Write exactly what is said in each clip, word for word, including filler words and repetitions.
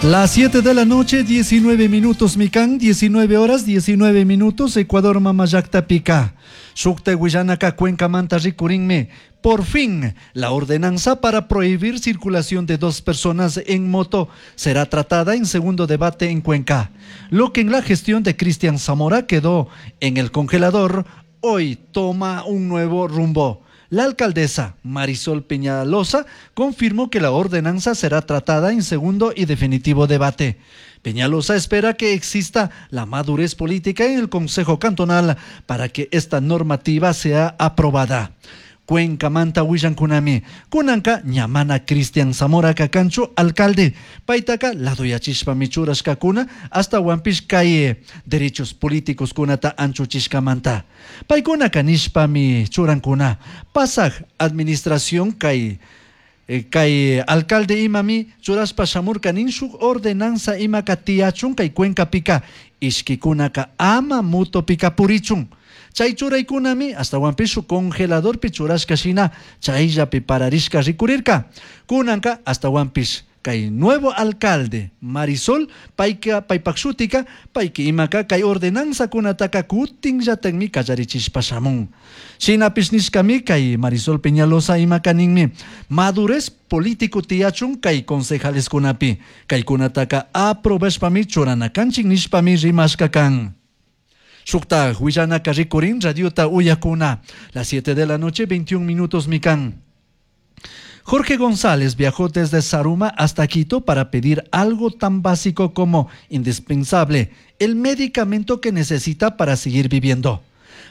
Las siete de la noche, diecinueve minutos, Mikan, diecinueve horas, diecinueve minutos, Ecuador mamallaktapica. Shukta willanaka Cuencamanta rikurinmi. Por fin, la ordenanza para prohibir circulación de dos personas en moto será tratada en segundo debate en Cuenca. Lo que en la gestión de Cristian Zamora quedó en el congelador, hoy toma un nuevo rumbo. La alcaldesa Marisol Peñalosa confirmó que la ordenanza será tratada en segundo y definitivo debate. Peñalosa espera que exista la madurez política en el Consejo Cantonal para que esta normativa sea aprobada. Cuencamanta willankunami. Kunanka ña mana Cristian Zamora kanchu alcalde. Paitaka ladoyachishpami churashkakuna ashtahuanpish kay derechos políticos kunata anchuchishkamanta. Paykunaka nishpami churankuna. Pasaj administración kay, eh, kay alcalde imami churashpa shamurka nin shuk ordenanza imaka tiyachun kay Cuencapika ishkikunaka ama motopika purichun. Chay churaykunami ashtahuanpish shuk congeladorpi churashka shina chayllapi pararishka rikurirka. Kunanka ashtahuanpish kay nuevo alcalde Marisol payka paypak shutika payki imaka kay ordenanza kunataka kutinllatakmi kallarichishpa shamun. Shinapish nishkami kay Marisol Peñalosa imaka ninmi madurez político tiyachun kay concejaleskunapi kaykunataka aprobashpami churana kanchik nishpami rimashka kan. Shukta willanaka rikurin radiota uyakuna. Las siete de la noche, veintiún minutos, mikan. Jorge González viajó desde Zaruma hasta Quito para pedir algo tan básico como indispensable, el medicamento que necesita para seguir viviendo.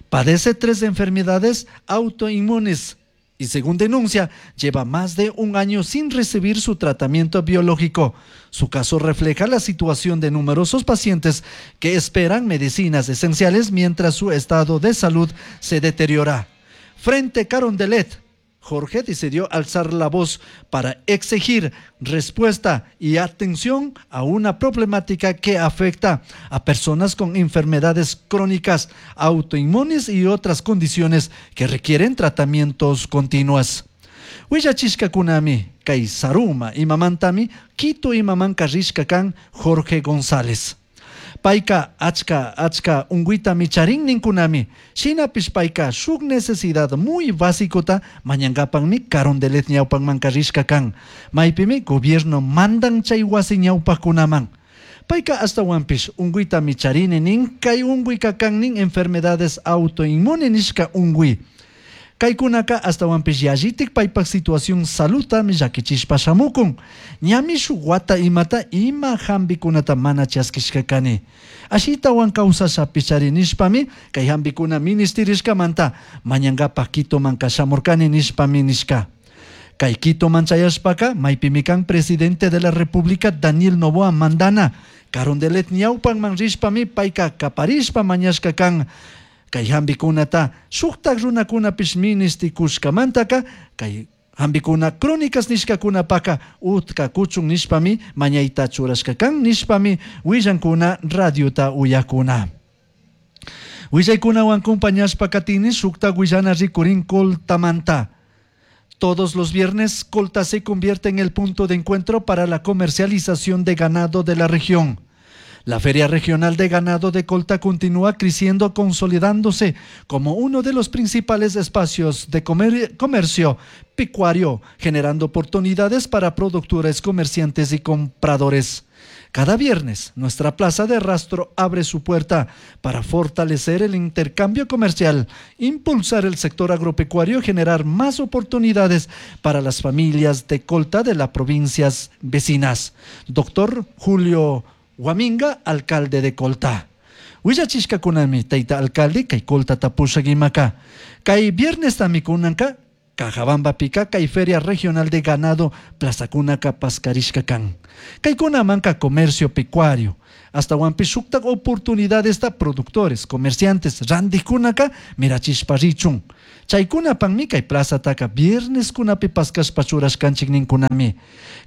Padece tres enfermedades autoinmunes y, según denuncia, lleva más de un año sin recibir su tratamiento biológico. Su caso refleja la situación de numerosos pacientes que esperan medicinas esenciales mientras su estado de salud se deteriora. Frente Carondelet, Jorge decidió alzar la voz para exigir respuesta y atención a una problemática que afecta a personas con enfermedades crónicas, autoinmunes y otras condiciones que requieren tratamientos continuos. Willachishkakunami, kay Zaruma imamantami, Quito imamanka rishka kan Jorge González. Payka achka achka unguytami charin ninkunami. Shinapish payka shuk necesidad muy básicota mañankapanmi Carondelet ñawpanmanka rishka kan. Maypimi gobierno mandan chay wasi ñawpaqkunaman. Payka ashtawanpish unguytami charini nin kay unguyka kan nin enfermedades autoinmune nishka unguy. Kaykunaka ashtawanpish yallitik paypak situación saludtami llakichishpa shamukun. Ñami shuk wata imata ima hambikunata mana chaskishka kani. Ashitawan kawsashapish chari nishpami kay hambikuna ministirishkamanta mañankapak Quitomanka shamurkani nishpami nishka. Kay Quitoman chayashpaka maypimi kan presidente de la República Daniel Noboa mandana. Carondelet ñawpanman rishpami payka kaparishpa mañashka kan. Kay hambikunata shuktak runakunapish ministikushkamantaka kay hambikuna crónicas nishkakunapaka utka kuchun nishpami mañayta churashka kan nishpami willankuna radiota uyakuna. Willaykunawan compañashpa katini shukta willana rikurin Coltamanta. Todos los viernes, Colta se convierte en el punto de encuentro para la comercialización de ganado de la región. La Feria Regional de Ganado de Colta continúa creciendo, consolidándose como uno de los principales espacios de comer-, comercio pecuario, generando oportunidades para productores, comerciantes y compradores. Cada viernes, nuestra plaza de rastro abre su puerta para fortalecer el intercambio comercial, impulsar el sector agropecuario y generar más oportunidades para las familias de Colta de las provincias vecinas. Doctor Julio Guaminga, alcalde de Colta. Willachishkakunami, tayta alcalde, kay Colta tapushagimaka. Kay viernes tamikunanka, Cajabamba pica, kay Feria Regional de Ganado, Plaza Kunaka, Pascarishka kan. Kay kunamanka comercio pecuario. Hasta huampishukta oportunidades ta productores, comerciantes, randikunaka, mirachishparichun. Chaykuna panmi kay plaza taka viernes kunapi paskashpa churashkanchik ninkunami.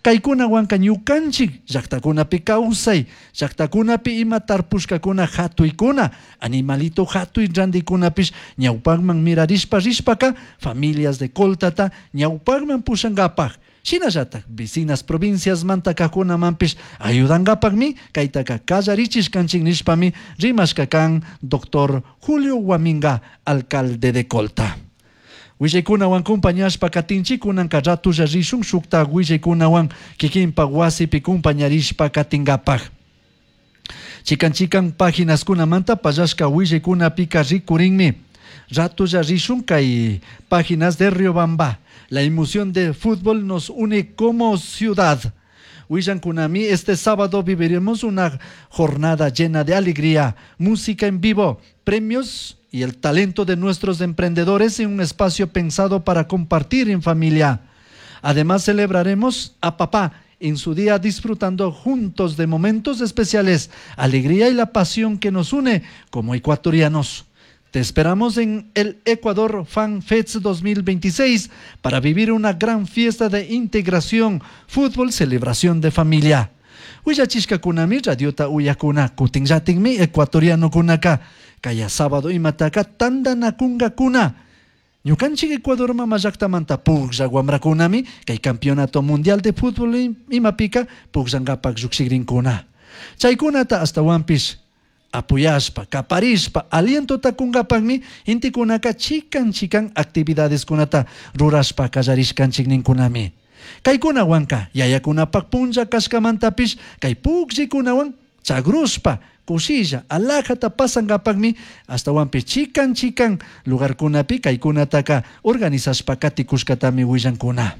Kaykuna wanka ñukanchik llaktakunapi kawsay, llaktakunapi ima tarpushkakuna hatuykuna, animalito hatuy randikunapish ñawpakman mirarishpa rishpaka familias de Coltata ñawpakman pushankapaj. Shinallatak vecinas provincias mantakakunamanpish ayudankapakmi kaytaka kallarichishkanchik nishpami rimashka kan doctor Julio Guaminga, alcalde de Colta. Willaykunawan kumpañashpa katinchik kunanka ratulla rishun shukta willaykunawan kikinpak wasipi kumpañarishpa katinkapak. Chikan chikan páginas kunamanta pallashka willaykunapika rikurinmi. Ratulla rishun kay páginas de Riobamba. La emoción de fútbol nos une como ciudad. Willankunami, este sábado viviremos una jornada llena de alegría, música en vivo, premios y el talento de nuestros emprendedores en un espacio pensado para compartir en familia. Además, celebraremos a papá en su día disfrutando juntos de momentos especiales, alegría y la pasión que nos une como ecuatorianos. Te esperamos en el Ecuador Fan Fest dos mil veintiséis para vivir una gran fiesta de integración, fútbol, celebración de familia. Willachishkakunami radiota uyakuna kutinllatikmi ecuatorianokunaka kaya sábado imataka tandanakunkakuna. Ñukanchik Ecuador mama llaktamanta puklla wamrakunami kay campeonato mundial de fútbol imapika pukllankapak llukshikrinkuna. Chaykunata astawanpish apoyashpa, kaparishpa, alientota kunkapakmi intikunaka chikan chikan actividades kunata rurashpa kallarishkanchik ninkunami. Kaykunawanka yayakunapak punlla kashkamantapish kay pukllikunawan chagrushpa kushilla alajata pasankapakmi astawanpish chikan chikan lugarkunapi kaykunataka organizashpa katikushkatami willankuna.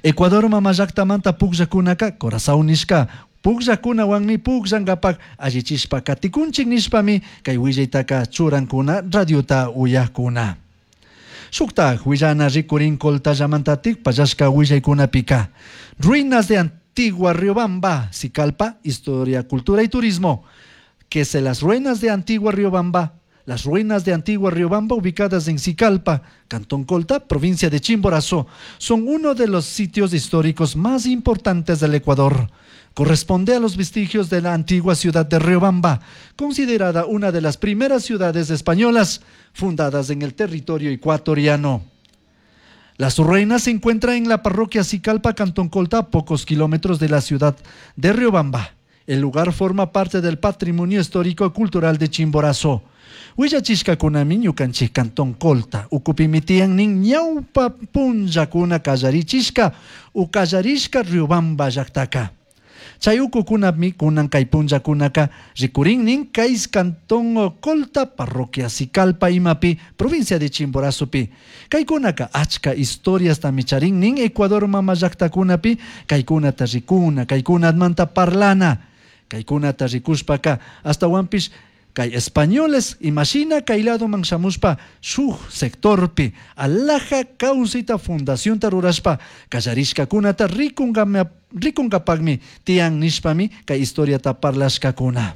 Ecuador mama llaktamanta pukllakunaka Corazao nishka pukllakunawanmi pukllankapak allichishpa katikunchik nishpami kay willaytaka churankuna radiota uyakuna. Shuktak willana rikurin Coltallamantatik pallashka willaykunapika. Ruinas de Antigua Riobamba, Sicalpa, Historia, Cultura y Turismo. Que se las ruinas de Antigua Riobamba, las ruinas de Antigua Riobamba ubicadas en Sicalpa, Cantón Colta, provincia de Chimborazo, son uno de los sitios históricos más importantes del Ecuador. Corresponde a los vestigios de la antigua ciudad de Riobamba, considerada una de las primeras ciudades españolas fundadas en el territorio ecuatoriano. Las ruinas se encuentran en la parroquia Sicalpa, Cantón Colta, a pocos kilómetros de la ciudad de Riobamba. El lugar forma parte del patrimonio histórico cultural de Chimborazo. Willachishkakunami ñukanchik Cantón Colta, ukupimi tiyan nin ñawpa punllakuna kallarichishka u kallarishka Riobamba llaktaka. Chay ukukunami kunan kay punllakunaka rikurin nin kay Cantón Colta, parroquia Sicalpa imapi, provincia de Chimborazopi. Kaykunaka achka historiastami charin nin Ecuador mama llaktakunapi, kaykunata rikuna, kaykunamanta parlana. Kaykunata rikushpaka astawanpish kay españoles imashina kay ladoman shamushpa shuk sectorpi alaja kawsayta fundacionta rurashpa kallarishkakunata rikunkapakmi tiyan nishpami kay historiata parlashkakuna.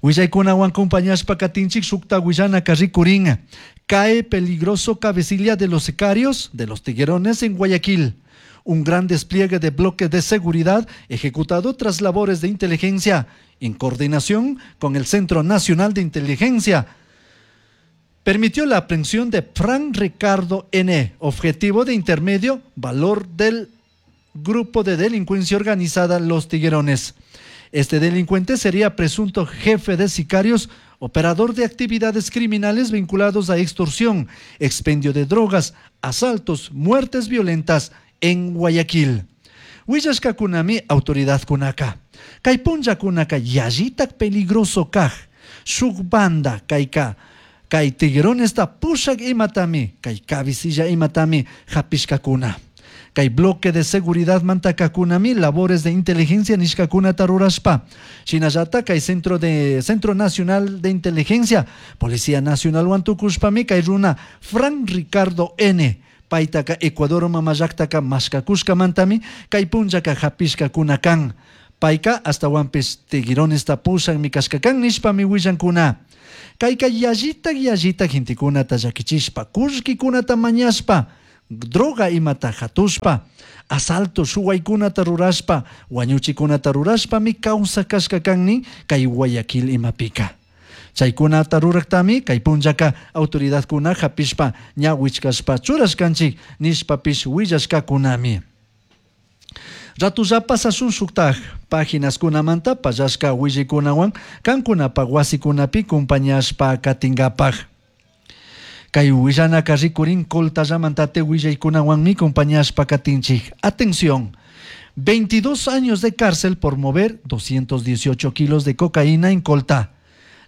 Willaykunawan compañashpa katinchik shukta willanaka rikurin. Cae peligroso cabecilla de los sicarios de los tiguerones en Guayaquil. Un gran despliegue de bloques de seguridad ejecutado tras labores de inteligencia en coordinación con el Centro Nacional de Inteligencia permitió la aprehensión de Fran Ricardo N., objetivo de intermedio valor del grupo de delincuencia organizada Los Tiguerones. Este delincuente sería presunto jefe de sicarios, operador de actividades criminales vinculados a extorsión, expendio de drogas, asaltos, muertes violentas en Guayaquil. Willashkakunami autoridadkunaka. Kay punllakunaka yallitak peligroso kaj. Shuk banda kayka. Kay tigueronesta pushak imatami. Kay cabecilla imatami hapishkakuna. Kay bloque de seguridad mantakakunami labores de inteligencia nishkakunata rurashpa. Shinallata kay centro de Centro Nacional de Inteligencia, Policía Nacional wantukushpami kay runa Fran Ricardo N. Paytaka Ecuador mama llaktaka mashkakushkamantami kay punllaka hapishkakuna kan. Payka astawanpish tigueronesta pushakmi kashkakan nishpami willankuna. Kayka yallitak yallitak gentekunata llakichishpa, kullkikunata mañashpa, droga imata hatushpa, asalto shuwaykunata rurashpa, wañuchikunata rurashpami kawsakashka kan nin kay Guayaquil imapika. Chaykunata ruraktami kay punllaka autoridadkuna hapishpa ña wichkashpa churashkanchik nishpapish willashkakunami. Ratulla pasashun shuktaj paginaskunamanta pallashka willaykunawan kankunapak wasikunapi compañashpa katinkapak. Kay willanaka rikurin Coltallamanta willaykunawanmi compañashpa katinchik. Atención, veintidós años de cárcel por mover doscientos dieciocho kilos de cocaína en Colta.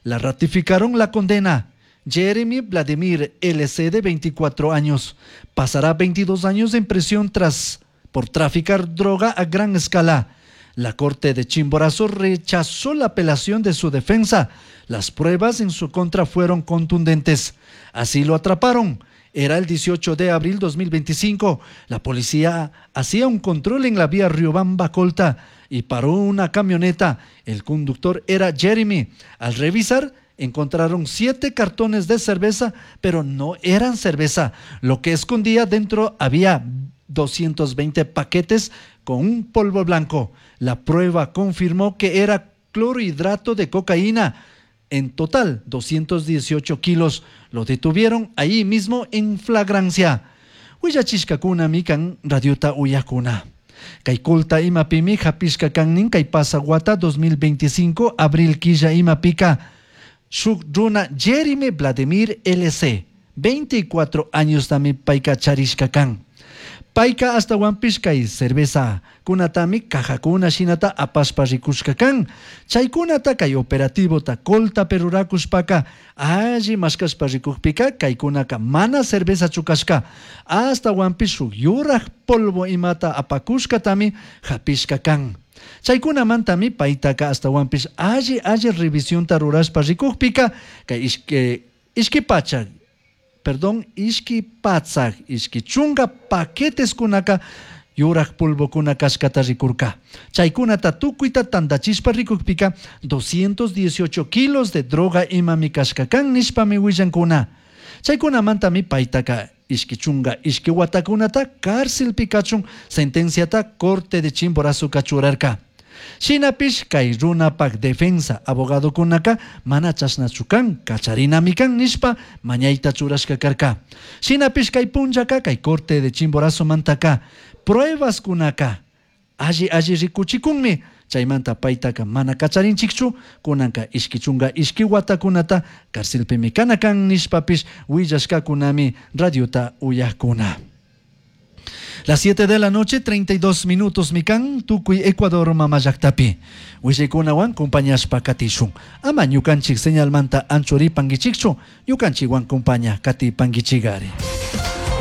La ratificaron la condena. Jeremy Vladimir L C, de veinticuatro años, pasará veintidós años en prisión tras por traficar droga a gran escala. La Corte de Chimborazo rechazó la apelación de su defensa. Las pruebas en su contra fueron contundentes. Así lo atraparon. Era el dieciocho de abril dos mil veinticinco. La policía hacía un control en la vía Riobamba-Colta y paró una camioneta. El conductor era Jeremy. Al revisar, encontraron siete cartones de cerveza, pero no eran cerveza. Lo que escondía dentro había doscientos veinte paquetes con un polvo blanco. La prueba confirmó que era clorhidrato de cocaína. En total, doscientos dieciocho kilos. Lo detuvieron ahí mismo en flagrancia. Willachishkakuna mikan radiota uyakuna. Kay Colta imapimi hapishka kannin kay pasaguata dos mil veinticinco abril quilla imapika. Shuk runa Jeremy Vladimir L C, veinticuatro años tami payka charishka kan. Payka hasta kay cerveza kunatami cajakuna shinata apashpa rikushka kan. Chaykunata kay operativo ta Colta perurakushpaka alli mashkashpa rikukpika kaykunaka mana cerveza chukashka. Hasta shuk yuraj polvo imata apakushkatami hapishka kan. Chaykunamantami paytaka hasta alli alli revisionta rurashpa rikukpika kay ishke, ishki pacha, perdón, ishki patzak, ishki chunga paquetes kunaka yuraj polvokuna kashkata rikurka. Chaykunata tukuyta tandachishpa rikukpika doscientos dieciocho kilos de droga imami kashka kan nishpami willankuna. Chaykunamantami paytaka ishki chunga ishki watakunata cárcelpi kachun sentenciata Corte de Chimborazo kachurarka. Shinapish kay runapak defensa abogadokunaka mana chashnachu kan kacharinami kan nishpa mañayta churashka karka. Shinapish kay punllaka kay Corte de Chimborazo mantaka pruebas kunaka alli alli rikuchikunmi. Chaymanta paytaka mana kacharinchikchu kunanka ishki chunga ishki watakunata cárcelpimi kana kan nishpapish willashkakunami radiota uyakuna. Las siete de la noche, treinta y dos minutos, mikan, tukuy Ecuador, mamallaktapi. Willikunawan compañashpa katishun. Ama ñukanchik señalmanta anchuripanguichikchu, ñukanchikwan compaña katipanguichigari.